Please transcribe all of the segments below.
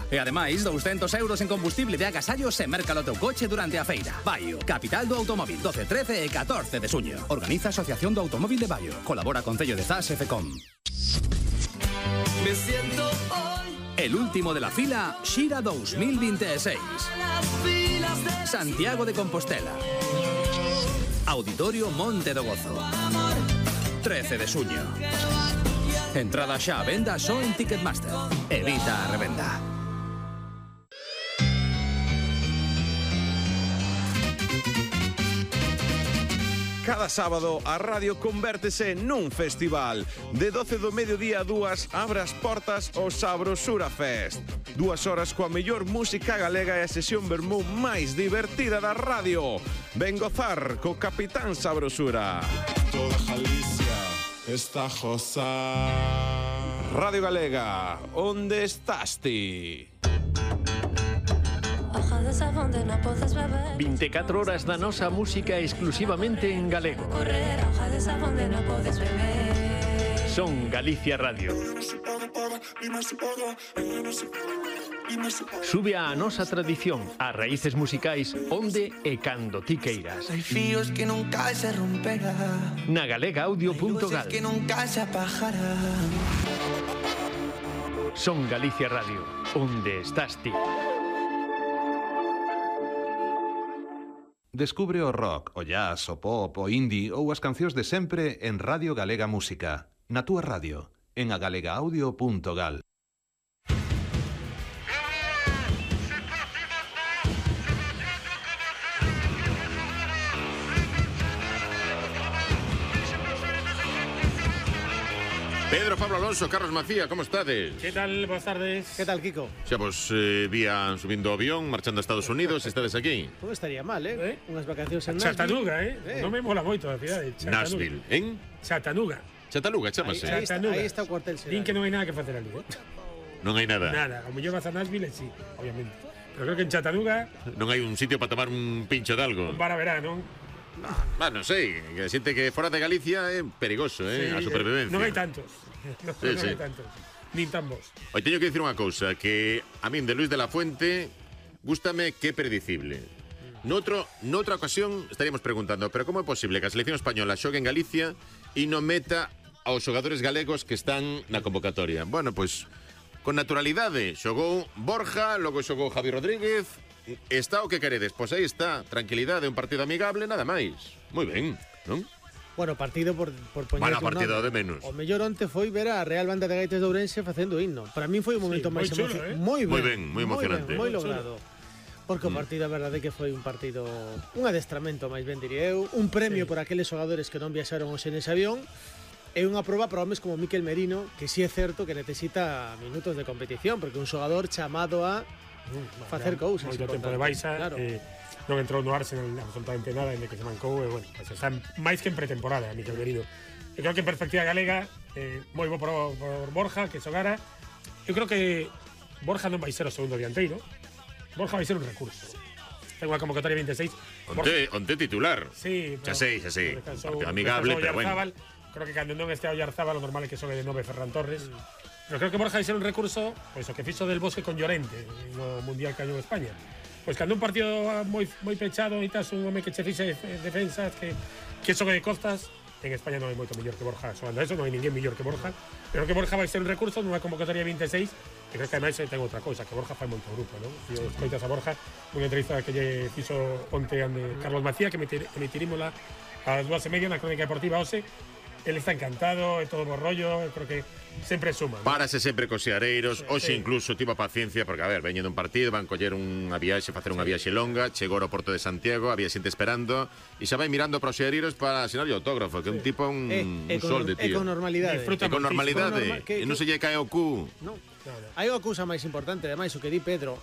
E ademais, 200 euros en combustible de agasallo se merca o teu coche durante a feira. Baio, capital do automóvil, 12, 13 e 14 de suño. Organiza a Asociación do Automóvil de Baio. Colabora Concello de Zas e FECOM. Me siento hoy. El último de la fila, Xira 2026. Santiago de Compostela. Auditorio Monte do Gozo. 13 de suño. Entrada xa a venda só en Ticketmaster. Evita a revenda. Cada sábado a radio convértese nun festival. De 12 do mediodía a 2 abre as portas o Sabrosura Fest. 2 horas coa mellor música galega e a sesión vermú máis divertida da radio. Ven gozar co Capitán Sabrosura. Toda Galicia está josa. Radio Galega, onde estás ti? 24 horas da nosa música exclusivamente en galego. Son Galicia Radio. Sube a nosa tradición, a raíces musicais onde e cando ti queiras. Hai fíos que nunca se romperán. Na galegaaudio.gal. Que nunca se apagarán. Son Galicia Radio, onde estás ti. Descubre o rock, o jazz, o pop, o indie ou as cancións de sempre en Radio Galega Música. Na túa radio, en agalegaaudio.gal. Pedro, Pablo Alonso, Carlos Macía, como estades? Que tal? Boas tardes. Que tal, Kiko? Xa vos vían subindo o avión, marchando a Estados Unidos, estades aquí. Non estaría mal, Unhas vacacións en Nashville. Chattanooga, Non me mola moito a cidade. Nashville, en? Chattanooga. Chattanooga, chamase. Aí está o cuartel xeral. Din que non hai nada que facer ali, Non hai nada. Nada, o mellor vas a Nashville, sí, obviamente. Pero creo que en Chattanooga non hai un sitio para tomar un pincho de algo. un bar a verán, non? Non sei, que xente que fora de Galicia é perigoso, a supervivencia. Non hai tantos. Non hai tantos. Nin tan vos. Hoy teño que dicir unha cousa, que a min de Luis de la Fuente gústame que é predicible. Noutra ocasión estaríamos preguntando, pero como é posible que a selección española xogue en Galicia e non meta aos xogadores galegos que están na convocatoria? Bueno, pois, con naturalidade xogou Borja, logo xogou Javi Rodríguez. Está o que queredes, pois aí está, tranquilidade, un partido amigable, nada máis. Moi ben, non? Bueno, partido por poñer Bueno, partido de menos. O mellor onte foi ver a Real Banda de Gaites de Ourense facendo himno. Para min foi o momento máis emocionante. Moi ben, moi emocionante. Moi logrado. Porque o partido, a verdade, que foi un partido, un adestramento, máis ben diría eu, un premio por aqueles xogadores que non viaxaron hoxe nese avión, e unha proba para homes como Miquel Merino, que si é certo que necesita minutos de competición, porque un xogador chamado a facer cousas. Moito tempo de baixa, claro. Non entrou no Arsenal absolutamente nada, en que se mancou, e bueno, pues está máis que en pretemporada, Miquel Merino. Eu creo que en perspectiva galega, moi bo por Borja, que xogara. Eu creo que Borja non vai ser o segundo dianteiro, Borja vai ser un recurso. Ten unha convocatoria 26. Onte titular. Sí, xa sei. Partido amigable, pero bueno. Creo que cando non este a Oyarzábal, o normal é que xogue de 9 Ferran Torres. Pero creo que Borja vai ser un recurso, pois o que fixo del Bosque con Llorente no Mundial que gañou España. Pois cando un partido moi pechado e tas un home que che fixe defensas, que xogue de costas, en España non hai moito mellor que Borja xogando eso, non hai ninguén mellor que Borja. Pero que Borja vai ser un recurso nunha convocatoria 26, e creo que ademais ten outra cousa, que Borja fai moito grupo, non? Se escoitas a Borja, unha entrevista que lle fixo onte a Carlos Macía, que emitirimola a las 2:30 na Crónica Deportiva hoxe. Él está encantado, é todo bo rollo, creo que sempre suma. Párase sempre cos seareiros, hoxe incluso tivo paciencia, porque a ver, veñendo un partido, van coller unha viaxe, facer unha viaxe longa, chegou ao Porto de Santiago, había xente esperando, e xa vai mirando para os seareiros para asinar o autógrafo, que é un tipo un sol de tío. E con normalidade. E con normalidade, e non se lle cae o cu. Non. Hai unha cousa máis importante, ademais, o que di Pedro,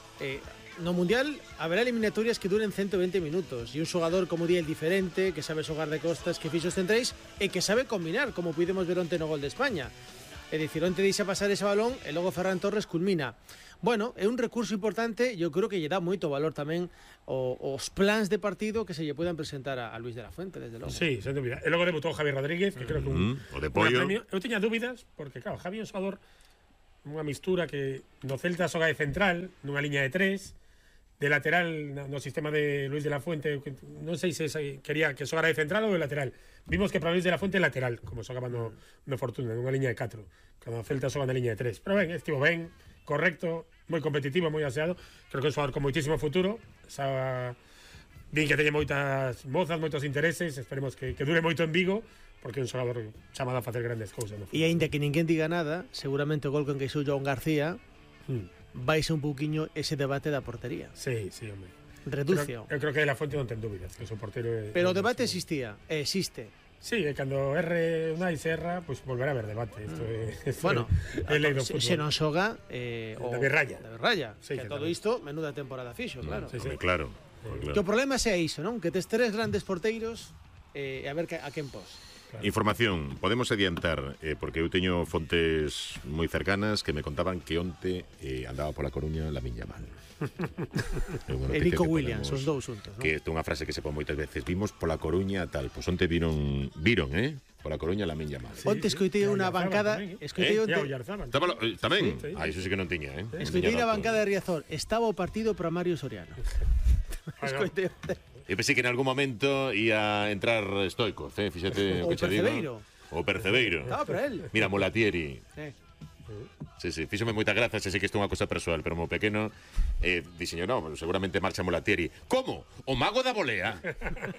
no Mundial haberá eliminatorias que duren 120 minutos, e un xogador como di el diferente, que sabe xogar de costas, que fixo os centrais e que sabe combinar, como pudemos ver onte no gol de España. É dicir, onte deixa pasar ese balón e logo Ferran Torres culmina. Bueno, é un recurso importante, eu creo que lle dá moito valor tamén os plans de partido que se lle puedan presentar a Luis de la Fuente, desde logo. Sí, sen dúbida. E logo debutou Javi Rodríguez, que creo que o de Pollo. Eu teña dúbidas, porque claro, Javi é un xogador unha mistura que no Celta xoga de central, nunha liña de 3, de lateral no sistema de Luis de la Fuente, non sei se quería que xogara de central ou de lateral. Vimos que para Luis de la Fuente lateral, como xogaba no Fortuna, nunha liña de 4, cando o Celta xoga na liña de 3. Pero ben, estivo ben, correcto, moi competitivo, moi aseado. Creo que é un xogador con moitísimo futuro. Din que teñe moitas mozas, moitos intereses, esperemos que dure moito en Vigo, porque é un xogador chamado a facer grandes cousas. No E aínda que ninguén diga nada, seguramente o gol con que xou Joan García vai ser un pouquiño ese debate da portería. Sí, hombre. Reducio. Eu creo que de la Fuente non ten dúbidas, que o seu portero Pero o debate existía, existe. Sí, e cando erre Unai Serra, pois volverá a haber debate. Bueno, se non xoga David Raya. David Raya. Sí, que todo isto, menuda temporada fixo, claro. Sí. Claro. Que o problema sea iso, non? Que tes 3 grandes porteiros e a ver a quen pos. Claro. Información, podemos adiantar, porque eu teño fontes moi cercanas que me contaban que onte andaba pola Coruña Lamine Yamal. E Nico Williams, os dous xuntos, non? Que é unha frase que se pon moitas veces. Vimos pola Coruña tal, pois onte viron, pola Coruña Lamine Yamal. Onte escoitei unha bancada, escoitei onte. Tamén? Iso sí que non tiña, Escoitei na bancada de Riazor, estaba o partido para Mario Soriano. Escoitei onte. Eu pensei que en algún momento ia entrar Stoico, fíxate o que che digo. O Percebeiro. Estaba para él. Mira, Molatieri. Sí, fíxome moita gracia, sei que isto é unha cosa persoal, pero mo pequeno dixeño, no, seguramente marcha Molatieri. Como? O mago da volea.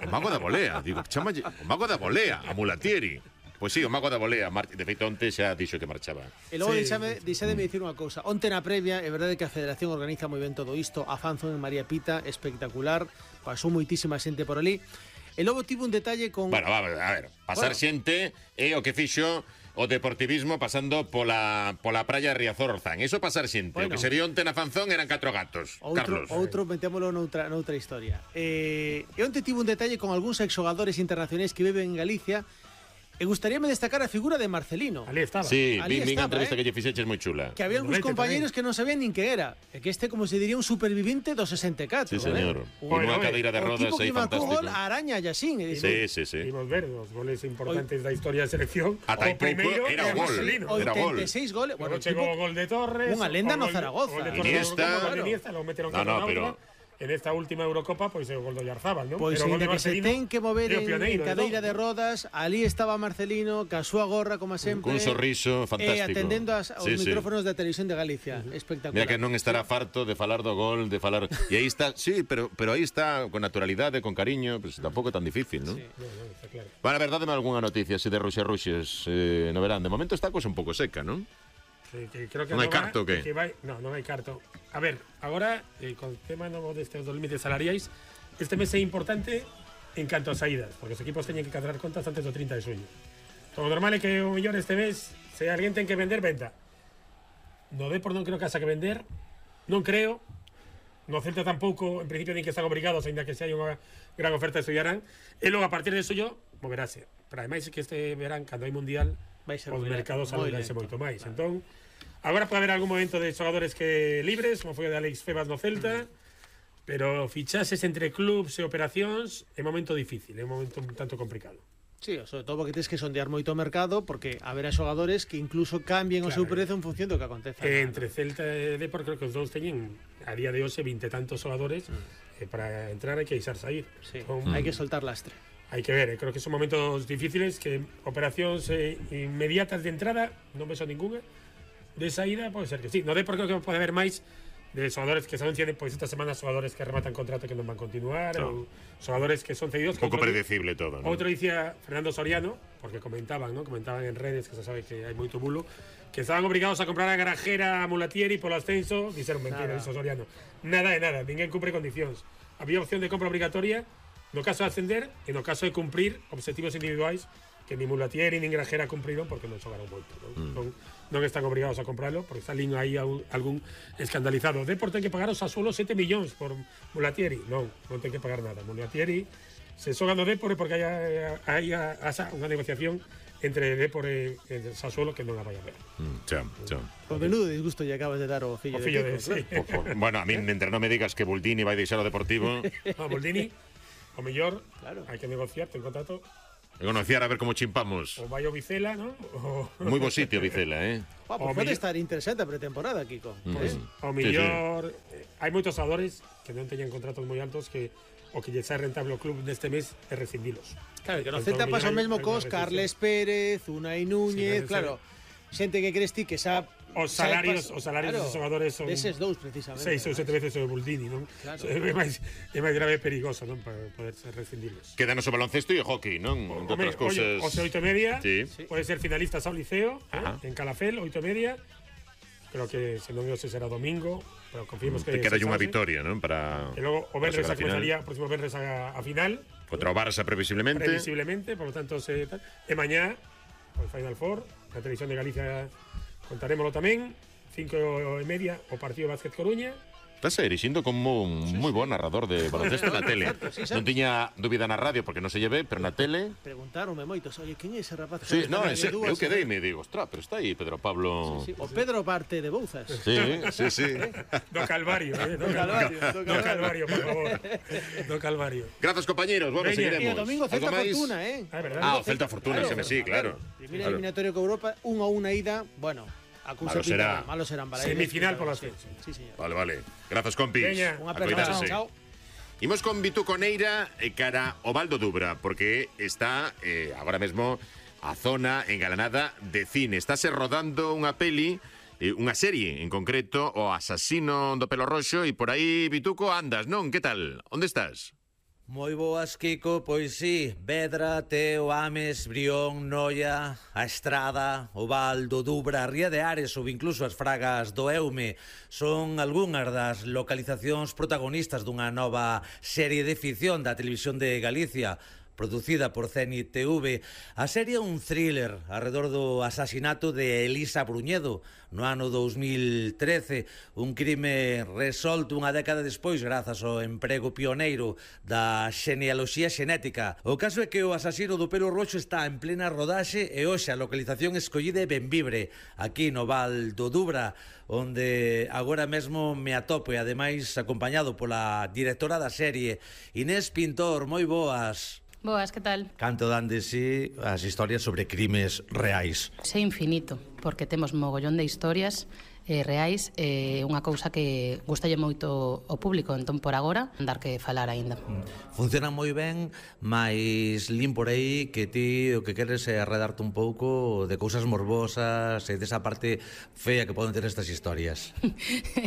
O mago da volea. Digo, chamalle, o mago da volea, a Molatieri. Pois sí, o mago da volea. De feito, onte xa dixo que marchaba. E logo deixademe dicir unha cousa. Onte na previa, é verdade que a Federación organiza moi ben todo isto. A fanzón en María Pita, espectacular. Pasou moitísima xente por ali. E logo tivo un detalle con... Bueno, a ver, pasar xente é o que fixo o deportivismo pasando pola praia de Riazor Orzán. Iso pasar xente. O que se vio onte na fanzón eran 4 gatos. Carlos. Outro metémolo noutra historia. E onte tivo un detalle con algúns exxogadores internacionais que viven en Galicia. E gustaríame destacar a figura de Marcelino. Ali estaba. Sí, vi unha entrevista que lle fixeches moi chula. Que había algúns compañeros que non sabían nin que era. E que como se diría, un supervivinte do 64. Sí, señor. Con unha cadeira de rodas aí fantástico. O tipo que marcou gol a Araña e Yaxín. Sí. Imos ver os goles importantes da historia da selección. Ata o primeiro era o gol. Era gol. 86 goles. Bueno, chegou o gol de Torres. Unha lenda no Zaragoza. Iniesta, lo meteron pero en esta última Eurocopa, pois é o gol do Oyarzábal, non? Pois ainda que se ten que mover en cadeira de rodas, ali estaba Marcelino, ca súa gorra, como sempre. Cun sorriso fantástico. E atendendo aos micrófonos da Televisión de Galicia. Espectacular. Mira que non estará farto de falar do gol, de falar... E aí está, sí, pero aí está, con naturalidade, con cariño, pues tampouco é tan difícil, non? Sí, está claro. Bueno, a verdade, algunha noticia así de ruxes no verán. De momento está cosa un pouco seca, non? Que creo que non hai carto, que? Non hai carto. A ver, agora, con o tema novo destes dos límites salariais, este mes é importante en canto a saídas, porque os equipos teñen que cadrar contas antes do 30 de xuño. O normal é que o millón este mes, se alguén ten que vender, venda. No Depor non creo que haxa que vender, non creo. No Celta tampouco, en principio, nin que están obrigados, ainda que se hai unha gran oferta de estudiarán. E logo, a partir de suyo, moverase. Pero ademais, que este verán, cando hai mundial, os mercados alonganse moito máis. Entón, agora pode haber algún momento de xogadores que libres, como foi o de Alex Febas no Celta, pero fichases entre clubs e operacións é un momento difícil, é un momento un tanto complicado. Sí, sobre todo porque tens que sondear moito o mercado, porque haberá xogadores que incluso cambien o seu prezo en función do que aconteza. Entre Celta e Depor, creo que os dous teñen a día de hoxe 20 e tantos xogadores, para entrar hai que deixar sair. Sí, hai que soltar lastre. Hai que ver, creo que son momentos difíciles, que operacións inmediatas de entrada non vexo ninguna. De saída pode ser que sí. No Depor creo que pode haber máis de xogadores que se anuncian pois esta semana, xogadores que rematan contrato que non van continuar, ou xogadores que son cedidos. Un pouco predecible todo, ¿no? Outro dicía Fernando Soriano, porque comentaban en redes, que se sabe que hai moito bulo, que estaban obrigados a comprar a Garajera, a Mulatieri polo ascenso. Dixeron mentira, dixo Soriano. Nada de nada, ninguén cumpre condicións. Había opción de compra obrigatoria no caso de ascender e no caso de cumprir objetivos individuais que ni Mulatieri ni Grajera cumpriron porque non xogaron moito, non están obrigados a comprarlo, porque está lín aí algún escandalizado. O Depor ten que pagar os Sassuolo 7 millóns por Mulatieri. Non ten que pagar nada. Mulatieri se xoga no Depor porque hai unha negociación entre Depor e Sassuolo que non a vai a ver. O menudo disgusto lle acabas de dar o fillo de Kiko. Bueno, a mí, entre non me digas que Buldini vai deixar o Deportivo... No, Buldini, o mellor, hai que negociar, ten contrato E conociar a ver como chimpamos. O vai o Vicela, ¿no? Moi bo sitio, Vicela, Pues pode estar interesante a pretemporada, Kiko. O mellor, hai moitos xogadores que non teñen contratos moi altos que o que lle sai rentable ao club neste mes é rescindilos. Claro, que no Celta pasa o mesmo cos Carles Pérez, Unai Núñez, claro, xente que crees ti que xa os salarios dos xogadores son deses dous precisamente. 6 ou 7 veces o de Buldini, non? Claro. É máis grave e perigoso, non, para poder ser rescindilos. Quedanos o baloncesto e o hockey, non? Entre outras cousas. O 8:30, sí. Pode ser finalistas ao Liceo, en Calafel, 8:30. Creo que se non se será domingo, pero confiemos que queda unha vitoria, non? Para e logo o Benres comenzaría o próximo Benres a final contra o Barça previsiblemente, por lo tanto e mañá o Final Four na televisión de Galicia contarémoslo tamén 5:30 o partido Básquet Coruña. Estás erixindo como un moi bo narrador de baloncesto na tele. Non tiña dúbida na radio porque non se lleve, pero na tele preguntaronme moitos, oye, quen é ese rapaz? Sí, no, eu quedei e me digo, ostras, pero está aí Pedro Pablo. O Pedro parte de Bouzas. Sí. Do Calvario, do Calvario, por favor. Do Calvario. Grazas, compañeros. Bueno, seguiremos. E o domingo Celta Fortuna, verdad. O Celta Fortuna, sí, claro. Primeira eliminatoria con Europa, 1-1 ida, bueno. Malo serán para semifinal por las fechas. Sí, señor. Vale. Grazas, compis. Unha aperta. Chao. Imos con Vitu Coneira cara o Val do Dubra, porque está agora mesmo a zona engalanada de cine. Estáse rodando unha peli, unha serie en concreto, O asasino do pelo roxo, e por aí, Vituco, andas, non? Que tal? Onde estás? Moi boas, Kiko, pois sí, Vedra, Teo, Ames, Brión, Noia, a Estrada, o Val do Dubra, a Ría de Ares ou incluso as Fragas do Eume son algunhas das localizacións protagonistas dunha nova serie de ficción da televisión de Galicia, producida por Zenit TV. A serie é un thriller arredor do asasinato de Elisa Bruñedo no ano 2013, un crime resolto unha década despois grazas ao emprego pioneiro da xenealoxía xenética. O caso é que o asasino do pelo roxo está en plena rodaxe e hoxe a localización escollida é Benvibre, aquí no Val do Dubra, onde agora mesmo me atopo e ademais acompañado pola directora da serie, Inés Pintor. Moi boas. Boas, que tal? Canto dan de si as historias sobre crimes reais? É infinito, porque temos mogollón de historias reais, unha cousa que gustalle moito ao público, entón por agora dar que falar aínda. Funciona moi ben, mais lín por aí que ti o que queres é arredarte un pouco de cousas morbosas e desa parte fea que poden ter estas historias.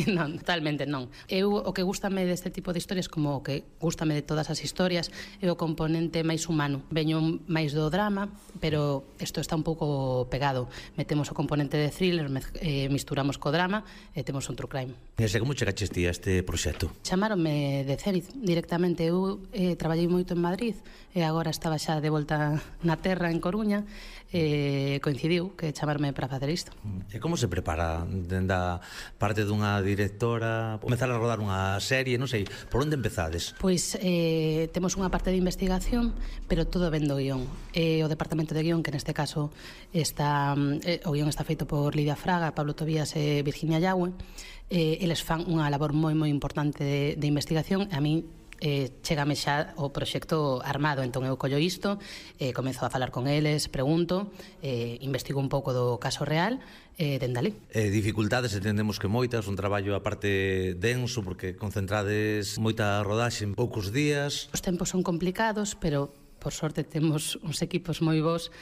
Non, totalmente non. Eu o que gústame deste tipo de historias, como o que gústame de todas as historias, é o componente máis humano. Veño máis do drama, pero isto está un pouco pegado. Metemos o componente de thriller, misturamos co drama e temos un true crime. E sei como chegaches ti a este proxecto? Chamaronme de Zenit directamente. Eu traballei moito en Madrid e agora estaba xa de volta na terra en Coruña e coincidiu que chamarme para facer isto. E como se prepara da parte dunha directora comezar a rodar unha serie, non sei, por onde empezades? Pois temos unha parte de investigación, pero todo vendo o guión. O departamento de guión, que neste caso está o guión está feito por Lidia Fraga, Pablo Tobías e Virginia Yagüe. Eles fan unha labor moi importante de investigación. A mí chégame xa o proxecto armado, entón eu collo isto, comezo a falar con eles, pregunto, investigo un pouco do caso real, dende ali. Dificultades entendemos que moitas, un traballo a parte denso porque concentrades moita rodaxe en poucos días. Os tempos son complicados, pero por sorte temos uns equipos moi bons,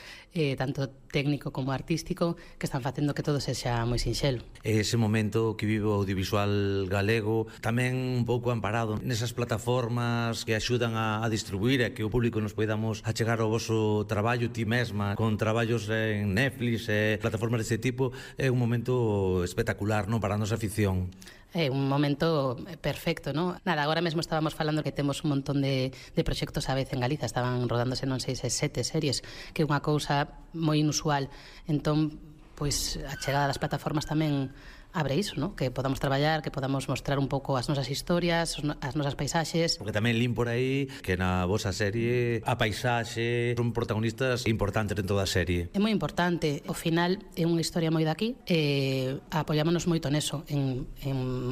tanto técnico como artístico, que están facendo que todo sexa moi sinxelo. Ese momento que vive o audiovisual galego tamén un pouco amparado nesas plataformas que axudan a distribuir e que o público nos poidamos achegar ao voso traballo, ti mesma, con traballos en Netflix e plataformas deste tipo, é un momento espectacular, non, para a nosa ficción. É un momento perfecto, non? Nada, agora mesmo estábamos falando que temos un montón de proxectos a vez en Galiza, estaban rodándose non sei se 7 series, que é unha cousa moi inusual. Entón, pois a chegada das plataformas tamén abre iso, ¿no? Que podamos traballar, que podamos mostrar un pouco as nosas historias, as nosas paisaxes. Porque tamén lín por aí que na vosa serie a paisaxe son protagonistas importantes dentro da serie. É moi importante, ao final é unha historia moi daqui e apoiámonos moito neso, en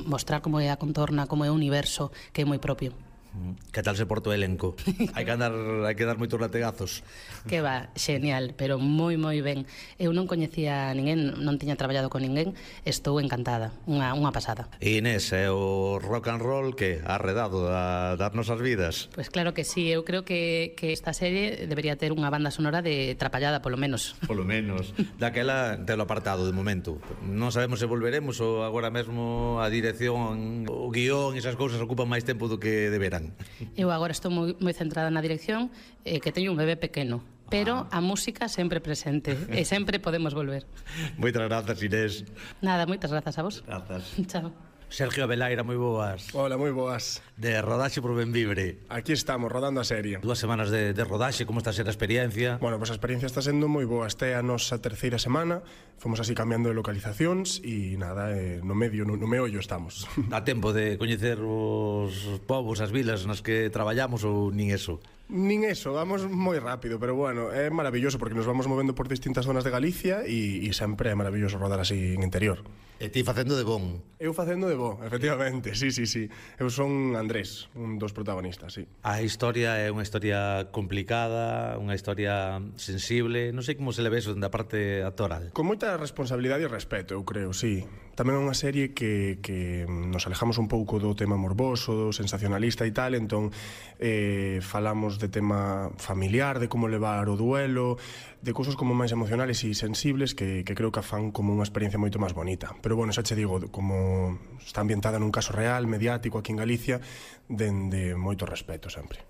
mostrar como é a contorna, como é o universo, que é moi propio. Que tal se porta o elenco? Hai que dar moitos lategazos. Que va, xenial, pero moi ben. Eu non coñecía a ninguén, non tiña traballado con ninguén, estou encantada, unha pasada. Inés, é o rock and roll que ha arredado das nosas vidas? Pois claro que sí, eu creo que esta serie debería ter unha banda sonora de Trapallada, polo menos. Polo menos. Daquela telo apartado de momento. Non sabemos se volveremos ou agora mesmo a dirección, o guión, esas cousas ocupan máis tempo do que deberán. Eu agora estou moi centrada na dirección, que teño un bebé pequeno, pero a música sempre presente e sempre podemos volver. Moitas grazas, Inés. Nada, moitas grazas a vos. Grazas. Chao. Sergio Abelaira, moi boas. Hola, moi boas. De rodaxe por Benvibre. Aquí estamos, rodando a serie. 2 semanas de rodaxe, como está a ser a experiencia? Bueno, pues a experiencia está sendo moi boa. Este é a nosa terceira semana, fomos así cambiando de localizacións e nada, no medio, no meollo estamos. Dá tempo de coñecer os povos, as vilas nas que traballamos ou nin eso? Nin eso, vamos moi rápido, pero bueno, é maravilloso porque nos vamos movendo por distintas zonas de Galicia e sempre é maravilloso rodar así en interior. E ti facendo de bon? Eu facendo de bo, efectivamente, sí. Eu son Andrés, un dos protagonistas, sí. A historia é unha historia complicada, unha historia sensible, non sei como se le ve eso da parte actoral. Con moita responsabilidade e respeto, eu creo, sí. Tamén é unha serie que nos alejamos un pouco do tema morboso, do sensacionalista e tal, entón falamos de tema familiar, de como levar o duelo, de cousas como máis emocionales e sensibles que creo que fan como unha experiencia moito máis bonita. Pero bueno, xa che digo, como está ambientada nun caso real, mediático aquí en Galicia, dende moito respeto sempre.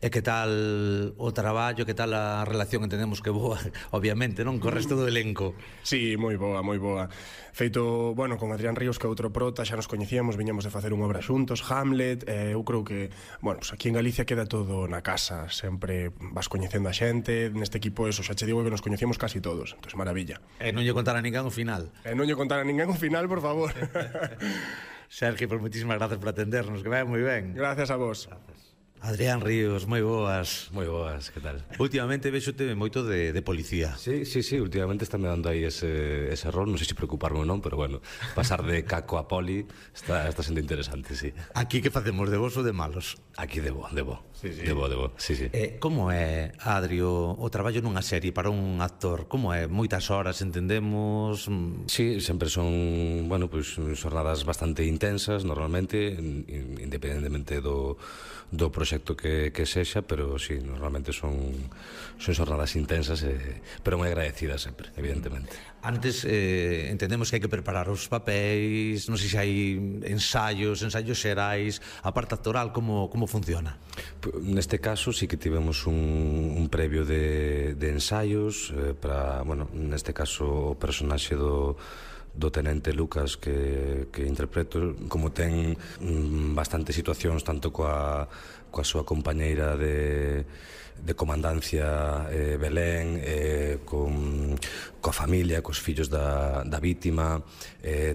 E que tal o traballo, que tal a relación que tenemos que boa, obviamente, non? Co resto do elenco. Sí, moi boa, moi boa. Feito, bueno, con Adrián Ríos, que é outro prota, xa nos coñecíamos, viñamos de facer unha obra xuntos, Hamlet, eu creo que, bueno, pues aquí en Galicia queda todo na casa, sempre vas coñecendo a xente, neste equipo eso, xa che digo que nos coñecíamos casi todos, entón, maravilla. E non lle contar a ninguén o final. E non lle contar a ninguén o final, por favor. Sergio, pues moitísimas gracias por atendernos, que vai moi ben. Gracias a vos. Gracias. Adrián Ríos, moi boas. Moi boas, que tal? Últimamente vexote moito de policía. Sí, últimamente está me dando aí ese rol, non sei se preocuparme ou non, pero bueno, pasar de caco a poli está sendo interesante, sí. Aquí que facemos, de vos ou de malos? Aquí debo. Sí. Debo, sí. Como é, Adrio, o traballo nunha serie para un actor? Como é? Moitas horas, entendemos? Sí, sempre son, bueno, pues, xornadas bastante intensas, normalmente, independentemente do proxecto que sexa, pero sí, normalmente son xornadas intensas, pero moi agradecidas sempre, evidentemente. Antes entendemos que hai que preparar os papéis, non sei se hai ensaios xerais, a parte actoral, como funciona? Neste caso sí que tivemos un previo de ensaios para, bueno, neste caso o personaxe do tenente Lucas que interpreto, como ten bastantes situacións tanto coa súa compañeira de comandancia Belén, coa familia, cos fillos da vítima,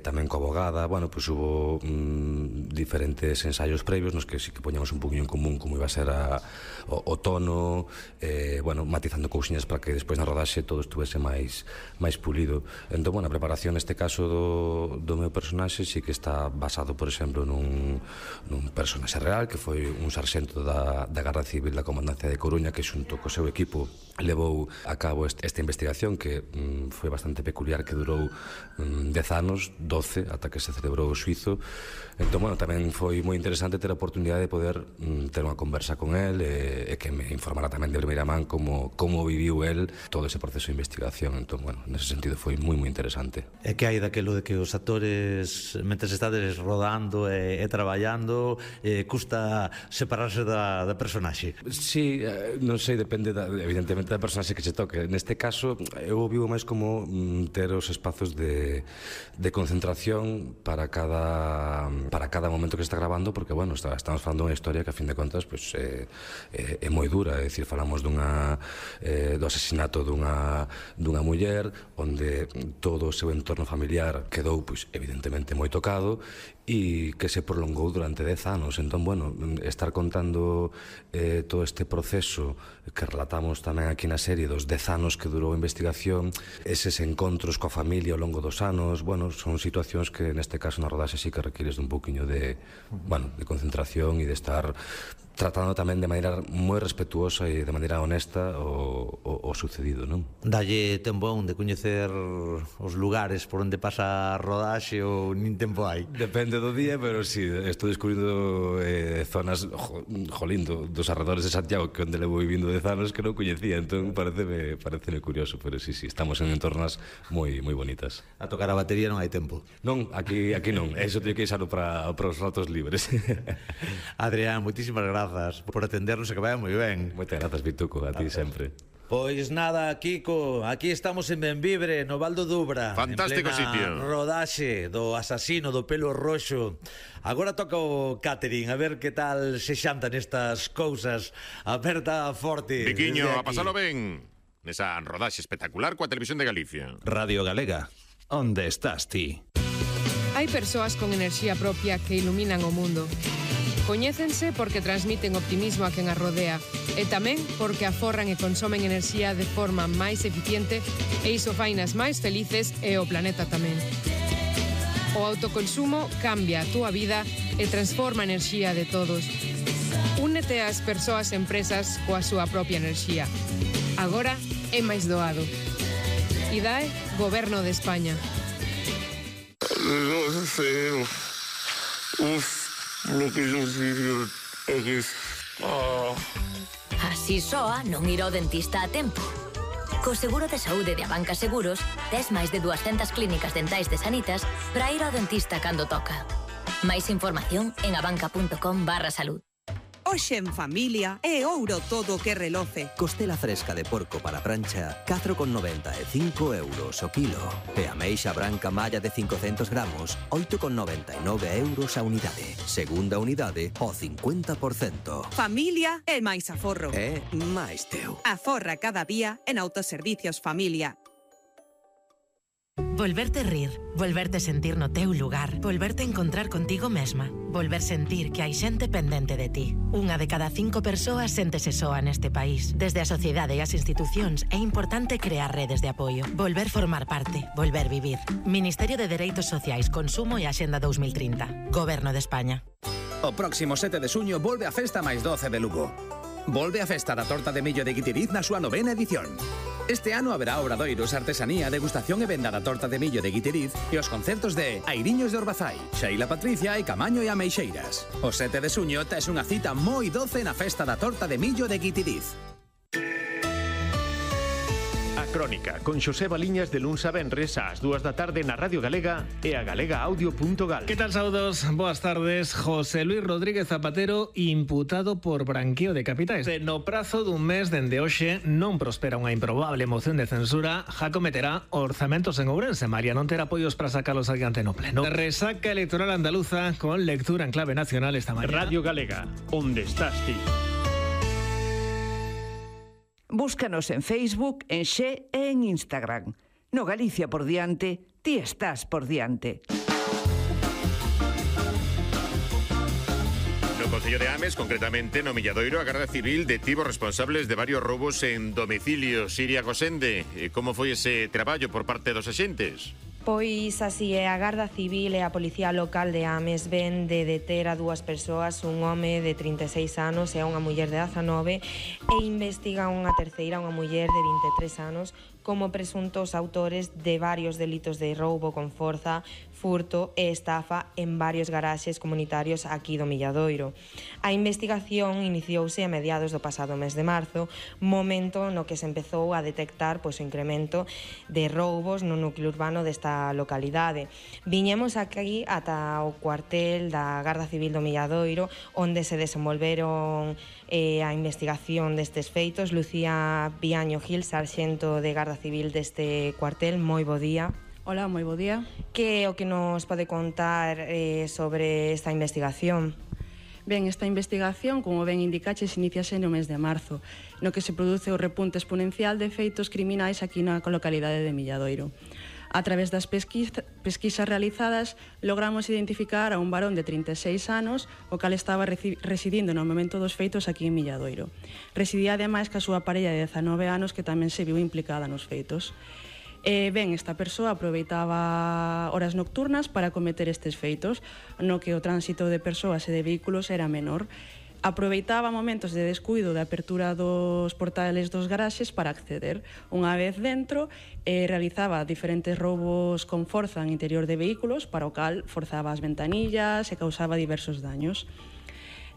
tamén coa abogada. Bueno, pois hubo diferentes ensaios previos nos que sí que poñamos un poquinho en común como iba a ser o tono, bueno, matizando cousiñas para que despois na rodaxe todo estuvese máis pulido. Entón, bueno, a preparación neste caso do meu personaxe sí que está basado, por exemplo, nun personaxe real que foi un sarxento da Garda Civil da Comandancia de Coruña que xunto co seu equipo levou a cabo esta investigación que foi bastante peculiar, que durou 10 anos, 12, ata que se celebrou o xuizo. Entón, bueno, tamén foi moi interesante ter a oportunidade de poder ter unha conversa con el e que me informara tamén de primeira man como viviu el todo ese proceso de investigación. Entón, bueno, nese sentido foi moi interesante. E que hai daquelo de que os actores, mentres estades rodando e traballando, custa separarse da personaxe? Sí, non sei, depende evidentemente da personaxe que se toque. Neste caso, eu vivo máis como ter os espazos de concentración para cada momento que está grabando, porque, bueno, estamos falando dunha historia que, a fin de contas, pues, é moi dura. É dicir, falamos do asesinato dunha muller onde todo o seu entorno familiar quedou, pues, evidentemente moi tocado e que se prolongou durante 10 anos. Entón, bueno, estar contando todo este proceso que relatamos tamén aquí na serie dos 10 anos que durou a investigación, eses encontros coa familia ao longo dos anos, bueno, son situacións que neste caso na rodaxe sí que requires dun pouquiño pouquiño de concentración e de estar tratando tamén de maneira moi respetuosa e de maneira honesta o sucedido, non? Dalle tempo aún de coñecer os lugares por onde pasa a rodaxe ou nin tempo hai? Depende do día, pero sí, estou descubrindo zonas dos arredores de Santiago que onde levo vivindo 10 anos que non coñecía, entón pareceme curioso, pero sí, estamos en entornas moi bonitas. A tocar a batería non hai tempo? Non, aquí non, eso teño que usarlo para os ratos libres. Adrián, moitísimas grazas por atendernos e que vaya moi ben. Moitas grazas, Vituco, a ti sempre. Pois nada, Kiko, aquí estamos en Benvibre, no Val do Dubra. Fantástico en plena sitio. Rodaxe do asasino do pelo roxo. Agora toca o catering, a ver que tal se xantan estas cousas. Aperta forte. Viquiño, a pasalo ben. Nesa rodaxe espectacular coa Televisión de Galicia. Radio Galega, onde estás ti? Hai persoas con enerxía propia que iluminan o mundo. Coñécense porque transmiten optimismo a quen as rodea e tamén porque aforran e consomen enerxía de forma máis eficiente e iso fainas máis felices e o planeta tamén. O autoconsumo cambia a túa vida e transforma a enerxía de todos. Únete ás persoas e empresas coa súa propia enerxía. Agora é máis doado. IDAE, Goberno de España. Non sei. Lo que non sirve é que... Así soa non ir ao dentista a tempo. Co seguro de saúde de Abanca Seguros, tes máis de 200 clínicas dentais de Sanitas para ir ao dentista cando toca. Máis información en abanca.com/salud. Hoxe en familia é ouro todo o que reloce. Costela fresca de porco para prancha, 4,90 e 5 euros o kilo. E ameixa branca malla de 500 gramos, 8,99 euros a unidade. Segunda unidade, o 50%. Familia é máis aforro. É máis teu. Aforra cada día en Autoservicios Familia. Volverte rir, volverte sentir no teu lugar, volverte encontrar contigo mesma, volver sentir que hai xente pendente de ti. Unha de cada 5 persoas séntese soa neste país. Desde a sociedade e as institucións é importante crear redes de apoio, volver formar parte, volver vivir. Ministerio de Dereitos Sociais, Consumo e Axenda 2030. Goberno de España. O próximo 7 de xuño volve a Festa máis 12 de Lugo. Volve a Festa da Torta de Millo de Guitiriz na súa 9ª edición. Este ano haberá obradoiros, artesanía, degustación e venda da torta de millo de Guitiriz e os concertos de Airiños de Orbazai, Xeila Patricia e Camaño e Ameixeiras. O 7 de xuño tes unha cita moi doce na Festa da Torta de Millo de Guitiriz. A Crónica, con Xosé Baliñas de luns a venres ás 2 da tarde na Radio Galega e a galegaaudio.gal. Que tal, saudos? Boas tardes. José Luis Rodríguez Zapatero imputado por branqueo de capitais. No prazo dun mes dende hoxe non prospera unha improbable moción de censura, já cometerá orzamentos en Ourense. María non terá apoios para sacalos adiante no pleno. Resaca electoral andaluza con lectura en clave nacional esta mañana. Radio Galega, onde estás ti? Búscanos en Facebook, en Xe e en Instagram. No Galicia por diante, ti estás por diante. No Concello de Ames, concretamente no Milladoiro, a Garda Civil detivo responsables de varios robos en domicilios. Siria Cosende, como foi ese traballo por parte dos axentes? Pois así é, a Garda Civil e a Policía Local de Ames ven de deter a dúas persoas, un home de 36 anos e a unha muller de 19, e investigan unha terceira, unha muller de 23 anos, como presuntos autores de varios delitos de roubo con forza, furto e estafa en varios garaxes comunitarios aquí do Milladoiro. A investigación iniciouse a mediados do pasado mes de marzo, momento no que se empezou a detectar o incremento de roubos no núcleo urbano desta localidade. Viñemos aquí ata o cuartel da Garda Civil do Milladoiro, onde se desenvolveron a investigación destes feitos. Lucía Viaño Gil, sarxento de Garda Civil deste cuartel, moi bo día. Hola, moi bo día. Que é o que nos pode contar sobre esta investigación? Ben, esta investigación, como ben indicaches, iniciase no mes de marzo, no que se produce o repunte exponencial de feitos criminais aquí na localidade de Milladoiro. A través das pesquisas realizadas, logramos identificar a un varón de 36 anos, o cal estaba residindo no momento dos feitos aquí en Milladoiro. Residía ademais ca súa parella de 19 anos, que tamén se viu implicada nos feitos. Ben, esta persoa aproveitaba horas nocturnas para cometer estes feitos, no que o tránsito de persoas e de vehículos era menor. Aproveitaba momentos de descuido de apertura dos portales dos garaxes para acceder. Unha vez dentro, realizaba diferentes roubos con forza en interior de vehículos, para o cal forzaba as ventanillas e causaba diversos daños.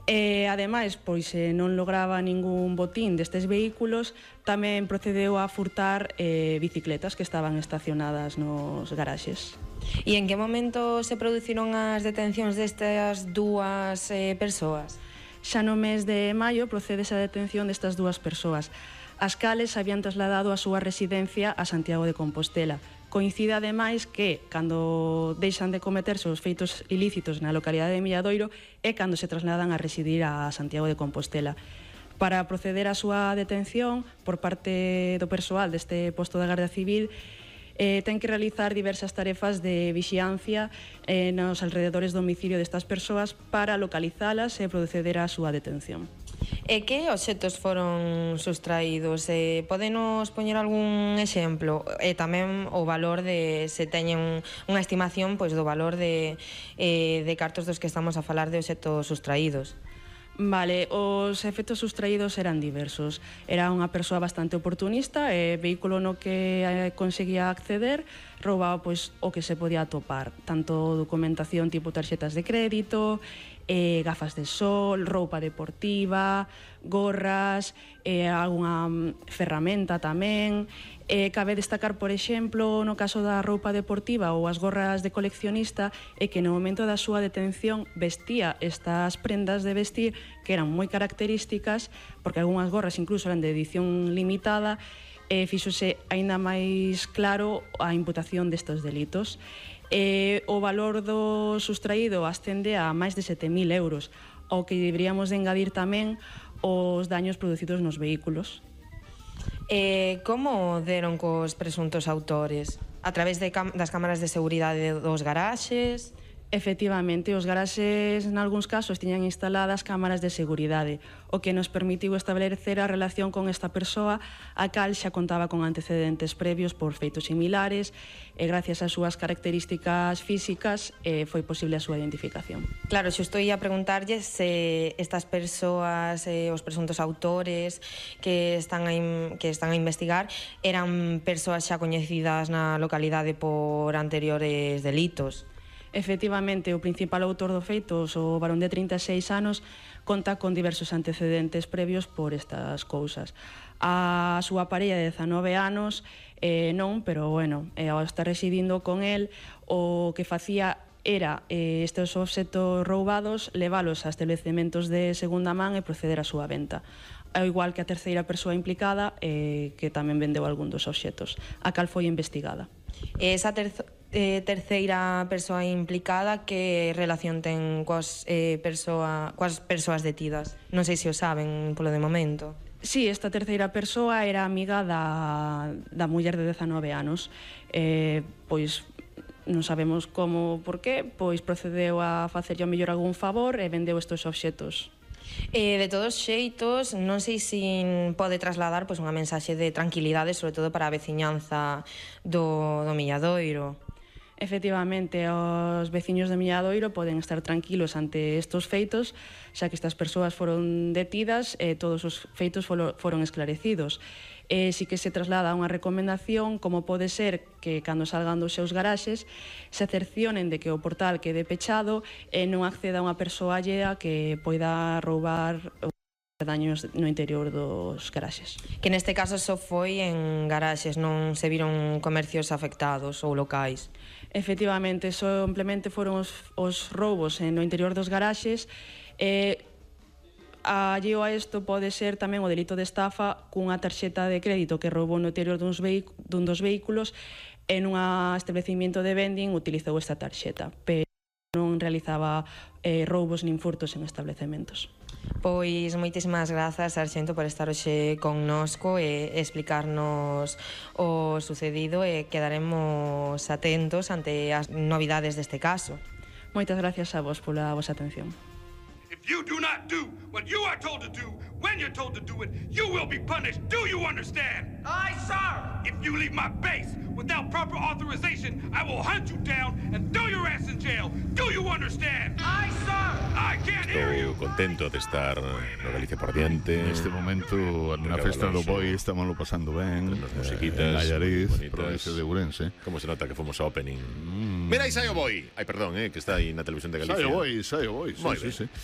Ademais, pois non lograba ningún botín destes vehículos, tamén procedeu a furtar bicicletas que estaban estacionadas nos garaxes. E en que momento se produciron as detencións destas dúas persoas? Xa no mes de maio procede a detención destas dúas persoas, as cales habían trasladado a súa residencia a Santiago de Compostela. Coincide ademais que, cando deixan de cometerse os feitos ilícitos na localidade de Milladoiro, é cando se trasladan a residir a Santiago de Compostela. Para proceder á súa detención por parte do persoal deste posto da Garda Civil, ten que realizar diversas tarefas de vixiancia nos alrededores do domicilio destas persoas para localizalas e proceder á súa detención. E que obxectos foron sustraídos? Podenos poñer algún exemplo? E tamén o valor de, se teñen unha estimación pois do valor de cartos dos que estamos a falar de obxectos sustraídos. Vale, os efectos sustraídos eran diversos. Era unha persoa bastante oportunista e vehículo no que conseguía acceder roubaba pois o que se podía atopar, tanto documentación tipo tarxetas de crédito, gafas de sol, roupa deportiva, gorras, algunha ferramenta tamén. Cabe destacar, por exemplo, no caso da roupa deportiva ou as gorras de coleccionista, é que no momento da súa detención vestía estas prendas de vestir que eran moi características, porque algunhas gorras incluso eran de edición limitada, e fíxose aínda máis claro a imputación destes delitos. O valor do sustraído ascende a máis de 7.000 euros, ao que deberíamos de engadir tamén os daños producidos nos vehículos. Como deron cos presuntos autores? A través das cámaras de seguridade dos garaxes? Efectivamente, os garaxes nalgúns casos tiñan instaladas cámaras de seguridade, o que nos permitiu establecer a relación con esta persoa, a cal xa contaba con antecedentes previos por feitos similares, e gracias ás súas características físicas foi posible a súa identificación. Claro, xusto ia preguntarlle se estas persoas, os presuntos autores que están a investigar, eran persoas xa coñecidas na localidade por anteriores delitos. Efectivamente, o principal autor do feito, o varón de 36 anos, conta con diversos antecedentes previos por estas cousas. A súa parella de 19 anos non, pero bueno, ao estar residindo con el, o que facía era estes obxectos roubados leválos a establecementos de segunda man e proceder á súa venta. Ao igual que a terceira persoa implicada, que tamén vendeu algún dos obxectos, a cal foi investigada. Esa terceira persoa implicada, que relación ten coas persoas detidas? Non sei se o saben polo de momento. Sí, esta terceira persoa era amiga da muller de 19 anos. Pois non sabemos como, por qué, pois procedeu a facerlle ao mellor algún favor e vendeu estes obxectos. De todos xeitos, non sei se pode trasladar unha mensaxe de tranquilidade, sobre todo para a veciñanza do Milladoiro. Efectivamente, os veciños de Milladoiro poden estar tranquilos ante estes feitos, xa que estas persoas foron detidas e todos os feitos foron esclarecidos. Si que se traslada unha recomendación, como pode ser que cando salgan dos seus garaxes se cercionen de que o portal quede pechado e non acceda unha persoa allea que poida roubar daños no interior dos garaxes. Que neste caso só foi en garaxes, non se viron comercios afectados ou locais. Efectivamente, simplemente foron os roubos no interior dos garaxes. Alleo a isto pode ser tamén o delito de estafa cunha tarxeta de crédito que roubou no interior dun dos vehículos e nun establecimiento de vending utilizou esta tarxeta, pero non realizaba roubos nin furtos en establecementos. Pois moitísimas grazas, sarxento, por estar hoxe connosco e explicarnos o sucedido, e quedaremos atentos ante as novidades deste caso. Moitas gracias a vos pola vosa atención. If you do not do what you are told to do, When you're told to do it, you will be punished. Do you understand? Aye, sir! If you leave my base without proper authorization, I will hunt you down and throw your ass in jail. Do you understand? Aye, sir! I can't hear you! Estou contento de estar no Galicia por diante. Neste momento, na festa do Boi, estamos lo pasando ben. Musiquitas, Allariz, provincia de Ourense. Como se nota que fomos ao opening. Mira, aí sai o Boi. Ai, perdón, que está aí na televisión de Galicia. Sai o Boi, Moi ben. sí.